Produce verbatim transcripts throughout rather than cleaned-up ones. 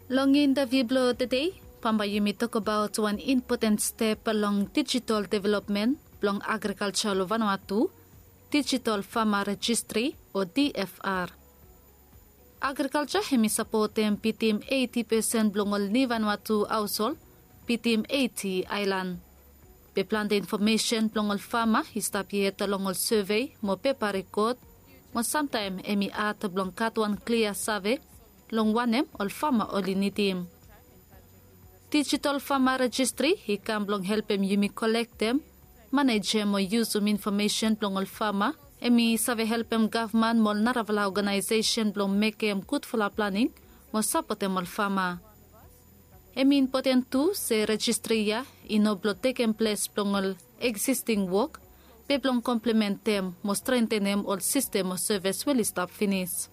Long intaviu blong tede, bambae yumi tokbaot wan impoten step long digital development blong agrikalsa long Vanuatu, Digital Farmer Registry o D F R. Agrikalsa hemi sapotem bitim eiti pesen blong ol niu Vanuatu haoshol bitim eiti aelan. Be plante infomesen blong ol fama i stap yet long ol sevei mo pepa rekod, mo samtaem hemi had blong gat wan klia save long wanem ol fama oli nidim. Digital Farmer Registry i kam blong helpem yumi kolektem, manejem mo yusum infomesen blong ol fama. Hemi save helpem gavman mo ol narafala oganaesesen blong mekem gudfala planing mo sapotem ol fama. Hemi impoten tu se registry ya i no blong tekem ples blong ol existing wok, be blong komplementem mo strentenem ol sistem o sevis we oli stap finis.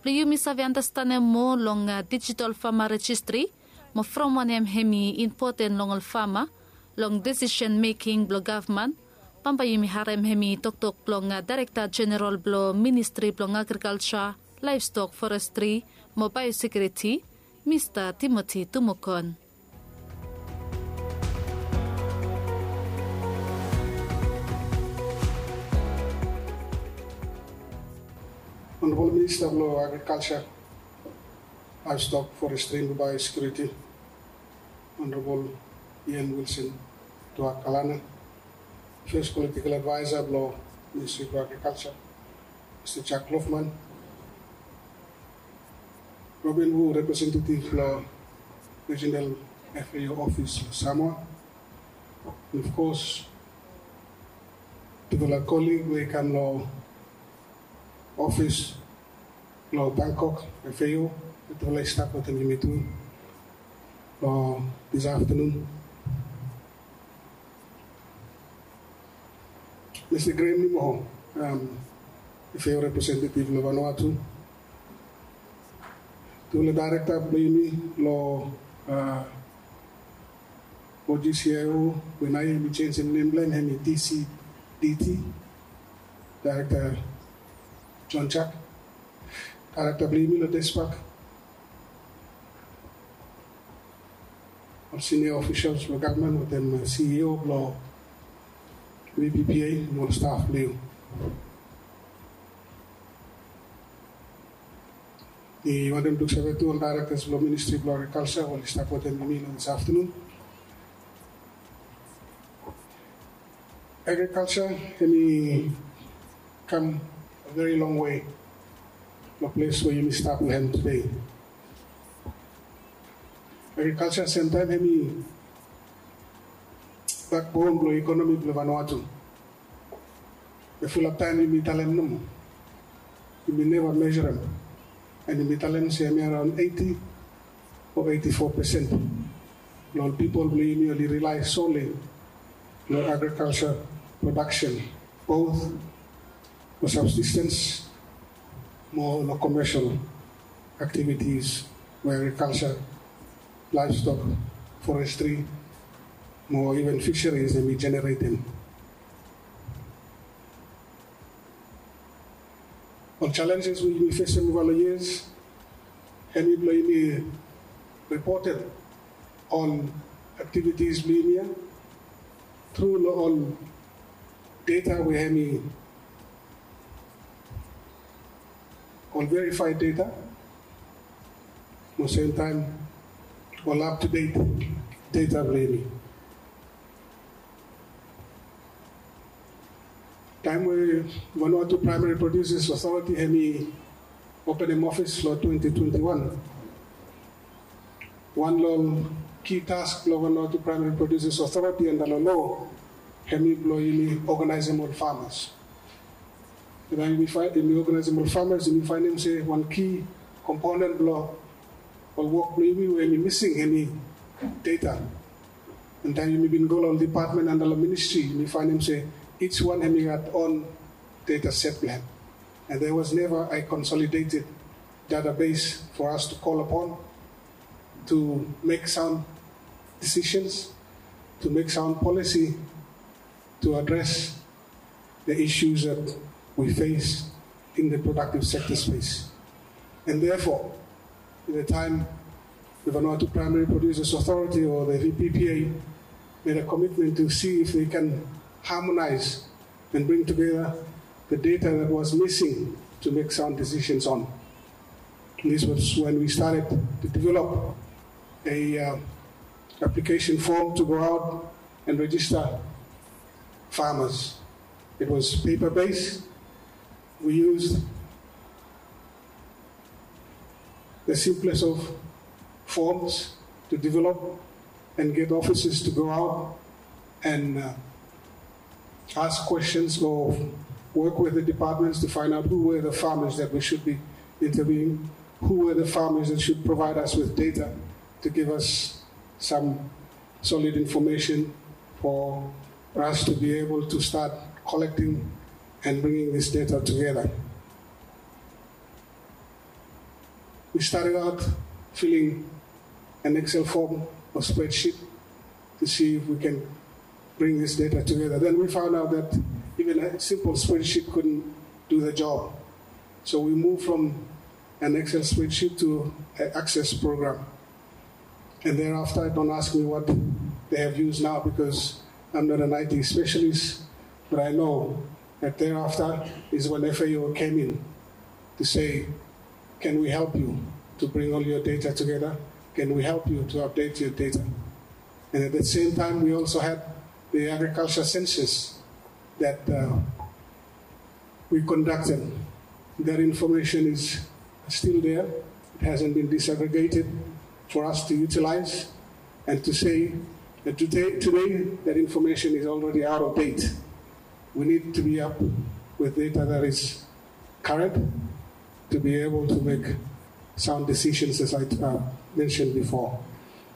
Blong yumi save andastanem moa long Digital Farmer Registry mo from wanem hemi impoten long ol fama long decision making blong gavman, bambae yumi harem hemi toktok blong Daerekta Jeneral blong Ministri blong Agrikalsa, Laevstok, Forestri mo Baeosekiuriti, Mista Timoti Tumukon. Honorable Minister blong Agriculture, Livestock, Forestry and Biosecurity, Honorable Ian Wilson Tuah Kalana, First Political Advisor blong Ministry blong Agriculture, Mista Jack Loughman, Robin Wu, representative long Regional F A O office long Samoa, and of course, tufala colleague we i kam long office long Bangkok F A O, tufala i stap wetem yumi tu long this afternoon. Mista Graham Nimo, um, F A O representative long Vanuatu. Tufala daerekta blong yumi long, uh, O G C I O, we naoia yumi jenisim nem blong hem, hemi D C D T, Daerekta John Jack. Daerekta blong yumi long DESPAC, ol senior officials blong gavman wetem, uh, C E O blong V P P A, mo ol staf blong yu. Mi wantem luksave tu ol directors blong Ministry blong Agriculture we oli stap wetem yumi long this afternoon. Agriculture hemi kam a very long way long ples we yumi stap long hem tede. Agriculture semtaem hemi backbone blong economy blong Vanuatu. Be fulap taem yumi talem nomo. Yumi neva measurem. And yumi talem se hemi around eighty o eighty-four percent blong ol pipol blong yumi oli rely solely long agriculture production, both for subsistence mo long commercial activities we agriculture, livestock, forestry mo even fisheries hemi generatem. Ol challenges we yumi fesem ova long years, hemi blong yumi reported ol activities blong yumi ya tru long ol data we hemi ol verified data, mo semtaem ol up to date data blong yumi. Taem we Vanuatu Primary Producers Authority hemi openem ofis long twenty twenty-one, wan long ol ki task blong Vanuatu Primary Producers Authority anda long loa hemi blong yumi oganaesem ol farmers. Taem yumi fa-, yumi oganaesem ol farmers, yumi faenem se wan ki komponen blong ol wok blong yumi we hemi mising hemi data. And taem yumi bin go long ol department anda long ministry, yumi faenem se each wan hemi gat own data set blong hem. And there was never a consolidated database for us to call upon to make sound decisions, to make sound policy to address the issues that we face in the productive sector space. And therefore, in the time the Vanuatu Primary Producers Authority, or the V P P A, made a commitment to see if they can harmonize and bring together the data that was missing to make sound decisions on. This was when we started to develop a uh, application form to go out and register farmers. It was paper based. We used the simplest of forms to develop and get officers to go out and uh, ask questions or work with the departments to find out who were the farmers that we should be interviewing, who were the farmers that should provide us with data to give us some solid information for us to be able to start collecting and bringing this data together. We started out filling an Excel form or spreadsheet to see if we can bring this data together. Then we found out that even a simple spreadsheet couldn't do the job. So we moved from an Excel spreadsheet to an Access program. And thereafter, don't ask me what they have used now because I'm not an I T specialist, but I know that thereafter is when F A O came in to say, can we help you to bring all your data together? Can we help you to update your data? And at the same time, we also had the agriculture census that uh, we conducted. That information is still there. It hasn't been disaggregated for us to utilize and to say that today, today that information is already out of date. We need to be up with data that is current to be able to make sound decisions, as I uh, mentioned before.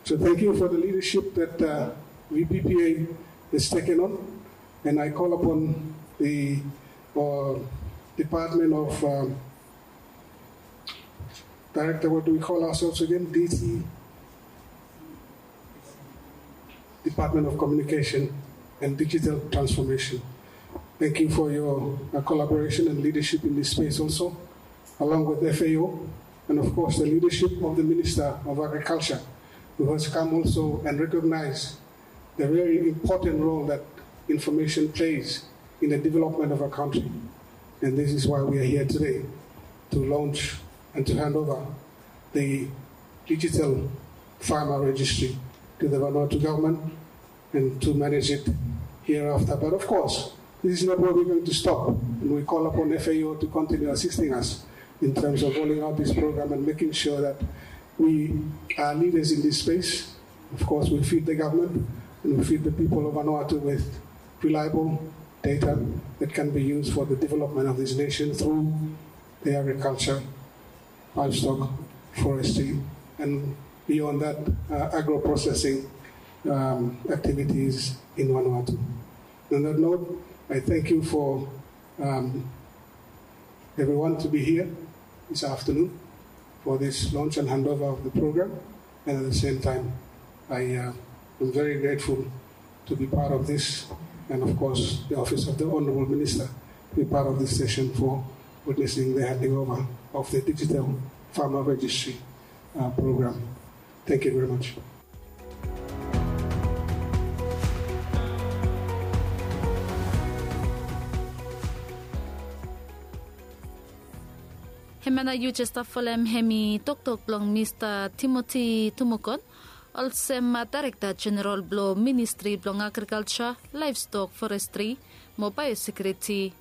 So thank you for the leadership that uh, V P P A has taken on, and I call upon the uh, Department of um, Director, what do we call ourselves again? D T, Department of Communication and Digital Transformation. Thank you for your uh, collaboration and leadership in this space also, along with F A O, and of course the leadership of the Minister of Agriculture, who has come also and recognized the very important role that information plays in the development of a country. And this is why we are here today to launch and to hand over the digital farmer registry to the Vanuatu government and to manage it hereafter. But of course, this is not where we're going to stop. And we call upon F A O to continue assisting us in terms of rolling out this program and making sure that we are leaders in this space. Of course, we feed the government and we feed the people of Vanuatu with reliable data that can be used for the development of this nation through the agriculture, livestock, forestry, and beyond that, uh, agro-processing um, activities in Vanuatu. On that note, I thank you for um, everyone to be here this afternoon for this launch and handover of the program. And at the same time, I uh, am very grateful to be part of this, and of course, the Office of the Honorable Minister to be part of this session for witnessing the handing over of the Digital Farmer Registry uh, program. Thank you very much. Hemia nao yu jes stap folem hemi toktok blong Mista Timoti Tumukon, olsem Daerekta Jeneral blong Ministri blong Agrikalja, Laevstok, Forestri mo Baeosekiuriti.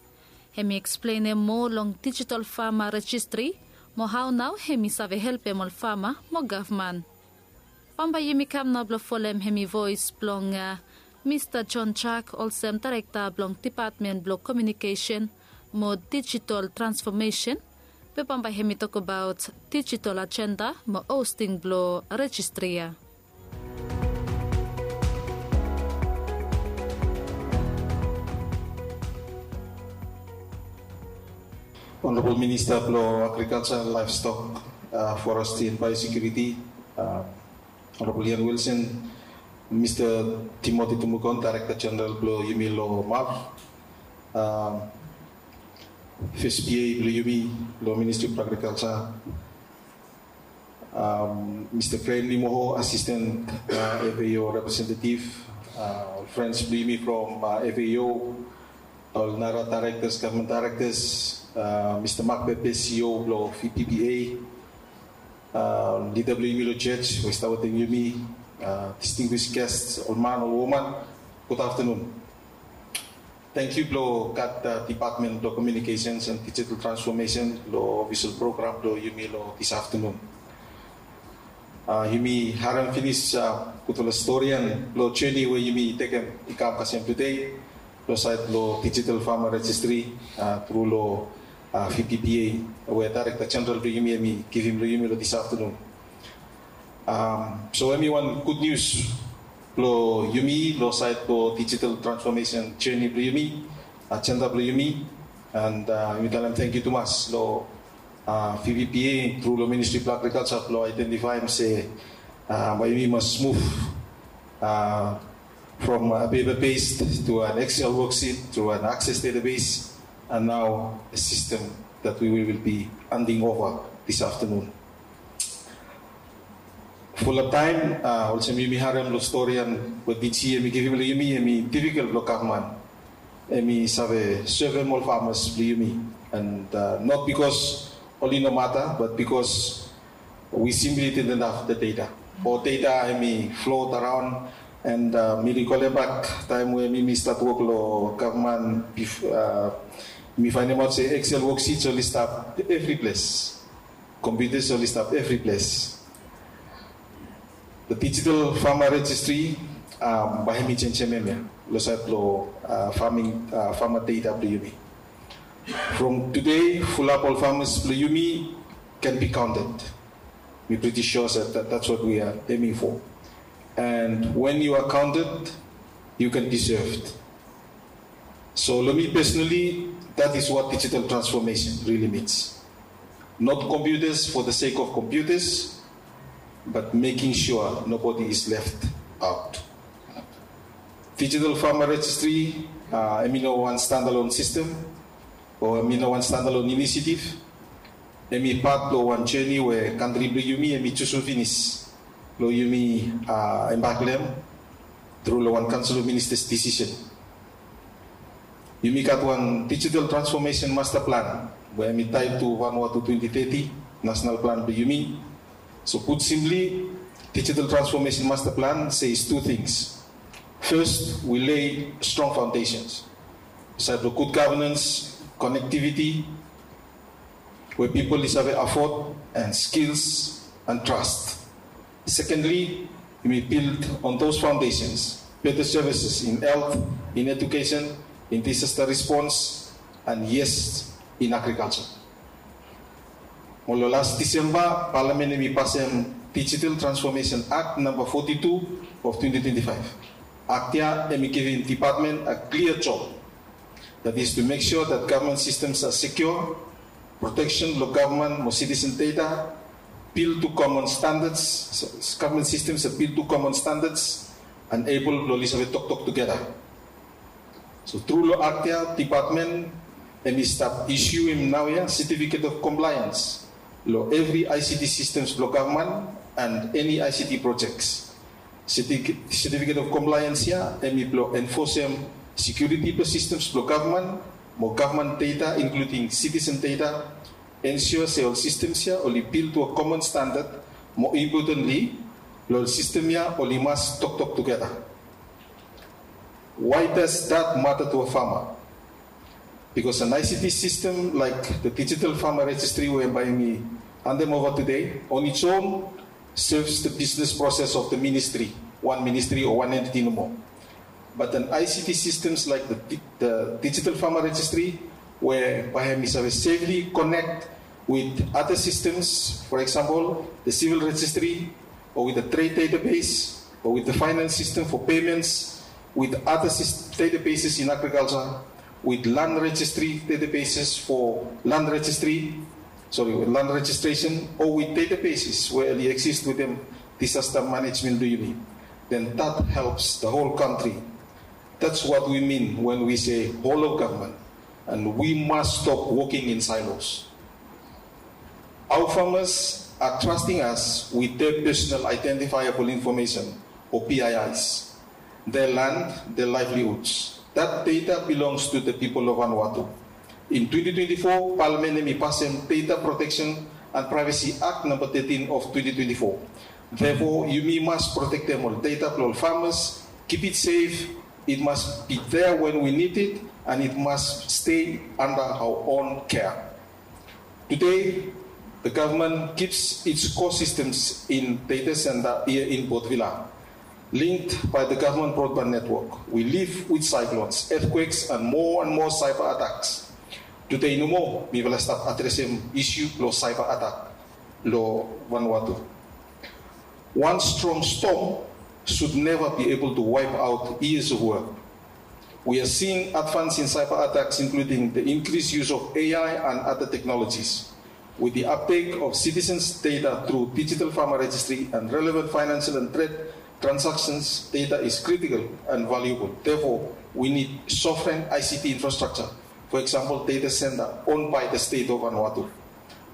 Hemi eksplenem moa long dijital fama rejistri mo hao nao hemi save helpem ol fama mo gavman. Bambae yumi kam nao blong folem hemi voes blong Mista John Jack olsem Daerekta blong Depatmen blong Komiunikesen mo Dijital Transfomesen, be bambae hemi tokbaot dijital ajenda mo hosting blong rejistri ya. Honorabol Minista blong Agrikalja, Laevstok, Forestri and Baeosekiuriti, Honorabol Ian Wilson, Mista Timoti Tumukon, Daerekta Jeneral blong yumi long MARF, fes PA blong yumi long Ministri blong Agrikalja, um, Mister Graham Limoho, Assistant uh, F A O Representative, uh, ol friends blong yumi from uh, F A O, ol nara directors, government directors, uh, Mister Mark Pepe, C E O blong V P P A, uh, lida blong yumi long church we i stap wetem yumi, uh, distinguished guests, ol man, ol woman, gud aftanun. Tangkiu blong gat uh, Department blong Communications and Digital Transformation long official program blong yumi long this afternoon. Uh, yumi harem finis uh, gudfala storian long journey we yumi tekem i kam kasem today long sait long Digital Farmer Registry uh, tru long uh, V P P A we Director General blong yumi hemi givim long yumi long this afternoon. Um, so hemi wan gud nius blong yumi long sait long digital transformation journey blong yumi, agenda blong yumi, and uh, yumi talem tangkiu tumas long uh, V P P A tru long Ministry blong Agriculture blong identifaem se uh, bae yumi mas move uh, from a paper based to an Excel worksheet to an Access database, and now a system that we will be handing over this afternoon. Fulap taem uh, olsem yumi harem long storian we D G hemi givim long yumi, hemi difikel blong gavman hemi save sevem ol farmers blong yumi, and uh, not because oli no mata, but because we simply didn't have the data. Ol data hemi float around, and uh, mi rikolem bak taem we mi mi stat wok long gavman, bif- uh, mi faenemaot se Excel worksheets oli stap evri ples, computers oli stap evri ples. The Digital Farmer Registry um, bae hemi jenjem hemia long sait long uh, farming uh, farmer data blong yumi. From today, fulap ol farmers blong yumi can be counted. Mi pretty sure that, that that's what we are aiming for. And when you are counted, you can be served. So long mi personally, that is what digital transformation really means. Not computers for the sake of computers, but making sure nobody is left out. Digital Farmer Registry, uh, hemi no wan standalone system, o hemi no wan standalone initiative. Hemi pat blong wan journey we kantri blong yumi hemi jusum finis blong yumi uh, embark long hem tru long wan Council of Ministers decision. Yumi gat wan Digital Transformation Master Plan we hemi tied to Vanuatu twenty thirty national plan blong yumi. So put simply, Digital Transformation Master Plan says two things. First, we lay strong foundations. Sait blong good governance, connectivity, where people is have afford, and skills and trust. Secondly, we build on those foundations, better services in health, in education, in disaster response, and yes, in agriculture. Mo long las Disemba, Palamen hemi pasem Digital Transformation Act number forty-two of twenty twenty-five. Act ya hemi givim department a clear job, that is to make sure that government systems are secure, protection blong government mo citizen data, build to common standards, so government systems are built to common standards, and able blong oli save toktok togeda. So tru long act ya, department hemi stap issuem naoia certificate of compliance long evri I C T systems blong government and eni I C T projects. Certificate of compliance ya hemi blong enforcem security blong systems blong government mo government data, including citizen data, ensure se ol systems ya oli build to a common standard, mo importantly, long ol system ya oli mas toktok togeda. Why does that matter to a farmer? Because an I C T system like the Digital Farmer Registry we bae mi handem over today on its own serves the business process of the ministry, one ministry or one entity nomo. But an I C T systems like the, the Digital Farmer Registry, where bae hemi save safely connect with other systems, for example, the civil registry, or with the trade database, or with the finance system for payments, with other databases in agriculture, with land registry databases for land registry, sorry, land registration, or with databases where they exist within disaster management blong yumi, then that helps the whole country. That's what we mean when we say whole of government, and we must stop working in silos. Our farmers are trusting us with their personal identifiable information, or P I Is, their land, their livelihoods. That data belongs to the people of Vanuatu. In twenty twenty-four, Parliament hemi pasem Data Protection and Privacy Act number thirteen of twenty twenty-four. Therefore, yumi mas protektem ol data blong ol farmers, keep it safe, it must be there when we need it, and it must stay under our own care. Today, the government keeps its core systems in data center here in Port Vila, linked by the government broadband network. We live with cyclones, earthquakes, and more and more cyber attacks. Today nomo, mifala stap adresem issue long cyber attack long Vanuatu. One strong storm should never be able to wipe out years of work. We are seeing advance in cyber attacks, including the increased use of A I and other technologies. With the uptake of citizens' data through digital farmer registry and relevant financial and trade transactions, data is critical and valuable. Therefore, we need sovereign I C T infrastructure, for example, data center owned by the state of Vanuatu.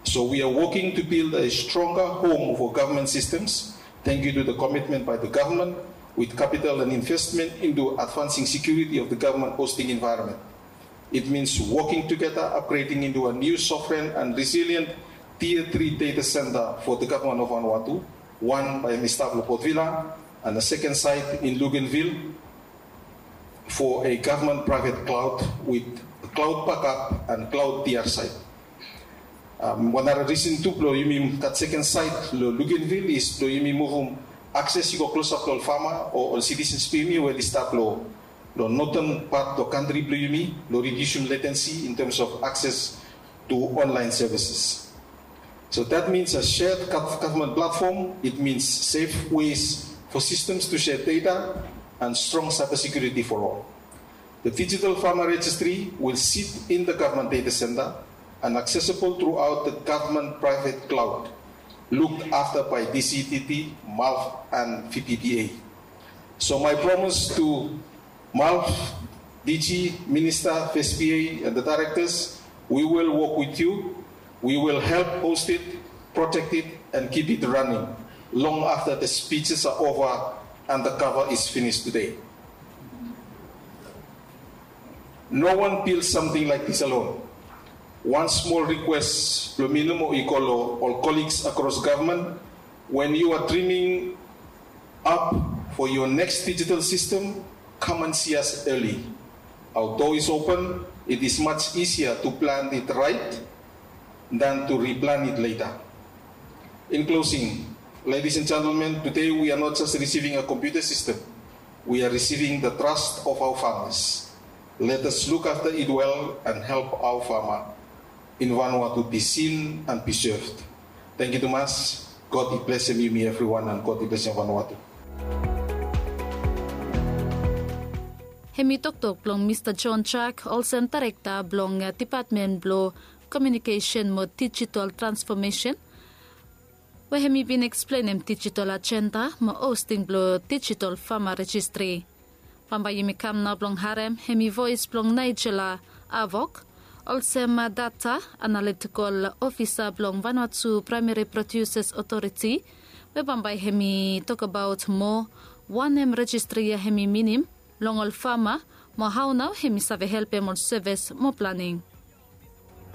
So we are working to build a stronger home for government systems, thank you to the commitment by the government with capital and investment into advancing security of the government hosting environment. It means working together, upgrading into a new sovereign and resilient tier three data center for the government of Vanuatu, one by Mister Port Vila and a second site in Luganville for a government private cloud with cloud backup and cloud D R site. Um, wan nara reason tu blong yumi gat second site long Luganville is blong yumi muvum akses i go klosap long ol farmer o ol citizens blong yumi we oli stap long long northern part long kantri blong yumi long reducem latency in terms of access to online services. So that means a shared gov- government platform, it means safe ways for systems to share data and strong cybersecurity for all. The digital farmer registry will sit in the government data center and accessible throughout the government private cloud, looked after by D C T T, MALF, and V P P A. So my promise to MALF, D G, Minister, V S P A, and the directors, we will work with you. We will help host it, protect it, and keep it running long after the speeches are over and the cover is finished today. No one built something like this alone. One small request blong mi nomo i go long ol colleagues across government, when you are dreaming up for your next digital system, come and see us early. Our door is open. It is much easier to plan it right than to replan it later. In closing, ladies and gentlemen, today we are not just receiving a computer system, we are receiving the trust of our farmers. Let us look after it well and help our farmer in Vanuatu be seen and be served. Thank you tumas. God i blesem yumi evriwan and God i blesem Vanuatu. Hemi toktok blong Mista John Jack, olsem daerekta blong depatmen blong komiunikesen mo dijitol transfomesen, we hemi bin eksplenem dijitol ajenda mo hosting blong dijitol fama rejistri. Bambae yumi kam nao blong harem hemi voes blong Naejela Avok, olsem data analitikol ofisa blong Vanuatu Praemeri Prodiuses Otoriti, we bambae hemi tokbaot moa wanem rejistri ya hemi minim long ol fama, mo hao nao hemi save helpem ol sevis mo planing.